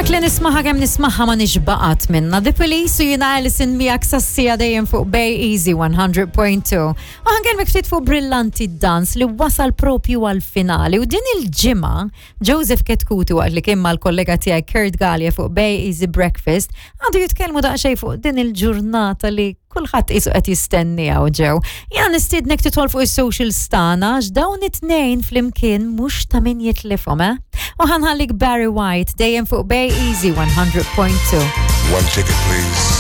Track li nismaha kemm nismaha ma nixbaqat minna. The Police u jina Alison miegħek sassija dejjem fuq Bay Easy 100.2. U ħankelmek ftit fuq Brillanti Dance li wasal propju għal-finali u din il-ġimgħa Joseph Ketkuti waqt li kien mal-kollega tiegħi Kurt Gallia fuq Bay Easy Breakfast għadu jitkellmu daqsxejn fuq din il-ġurnata li kulħadd qisu qed jistenni hawn ġew. Jiena nistiednek tidħol fuq is-socials tagħna għax dawn it-tnejn flimkien mhux ta' min jitlifhom, eh? U ħanħallik Barry White dejjem fuq Bay Easy 100.2. One ticket, please.